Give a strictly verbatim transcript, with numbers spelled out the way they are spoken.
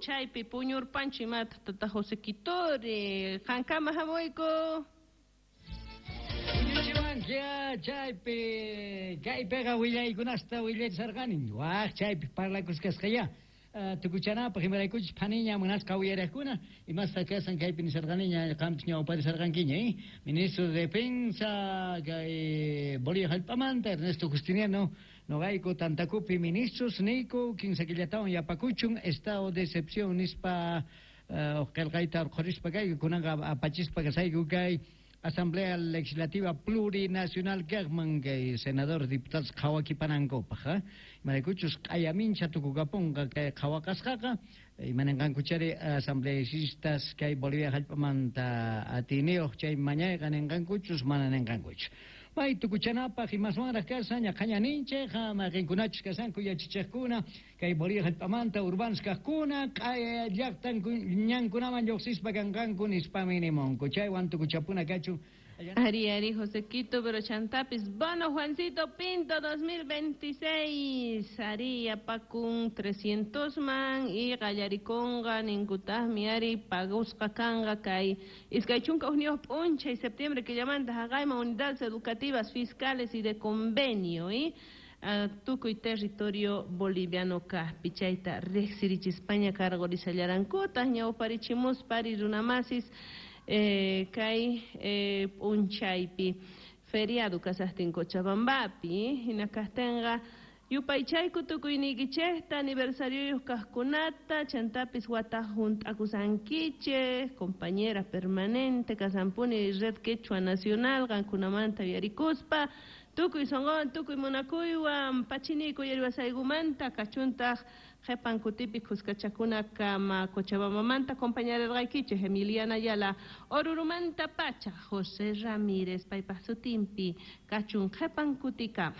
Chaypi puñurpanchu imata tata José Quitori, qankama hamuyku. Puñuchiwankia chaypi kaypiqa willaykunasta willasarqani waj chaypi parlakusqasqaya tukuchanapaq imaraykuchus phaniña munasqa uyariqkuna imasta kasan kaypi nisarqaniña qampis ñawparisarqankiña eh Ministro de Defensa kay Bolivia hallp'amanta Ernesto Justiniano noqayku tantakupi ministros niyku kinsa killatawan yapakuchun estado de excepción nispa qillqayta urqhurispa kayku kunanqa apachispa kasayku kay Asamblea Legislativa Plurinacional kaqman kay senadores diputados qhawakipanankupaq imaraykuchus q'ayamincha tukukapunqa kay qhawaqasqaqa imanenqankuchari asambleístas kay Bolivia hallp'amanta atiniyuq chay mañayqa ninqankuchus mana ninqankuchu. May tukuchanapaq imaswanraq kasan ñaqhaña ninchej mayqinkunachus kasanku yachachiqkuna kay Bolivia hallp'amanta urbanos kaqkuna q'aya llaqtan ñankunaman lluqsispa kanqanku nispami nimunku chaywan tukuchapuna kachun. Ari, Ari, José Quito, pero chantapis, bono Juancito Pinto dos mil veintiséis, Ari, apakun trescientos man, y gallariconga, ninkutajmi, Ari, pagusqa kanga, kay, iskay chunka hukniyuq p'unchay, septiembre, que llaman haqayman unidades educativas, fiscales y de convenio, y uh, tukuy territorio boliviano kaqpi, chayta riqsirichispaña cargorisallarankutaj, ñawparichimuspa, ari runamasis, Eh, kay eh, p'unchaypi feriado kasaqtin Cochabambapi hina kaqtinqa yupaychayku tukuyniykichejta aniversarioyuq kaqkunata chantapis wata hunt'akusankichej compañera permanente kasanpuni Red Quechua Nacional qankunamanta yuyarikuspa tukuy sonqowan tukuy munakuywan pachiniyku yariwasaygumanta kachuntaq qhipan kutipi khuskachakuna kama Cochabambamanta compañerarqaykichej Emiliana Ayala Orurumanta pacha José Ramírez paypaq sutinpi kachun qhipan kutikama.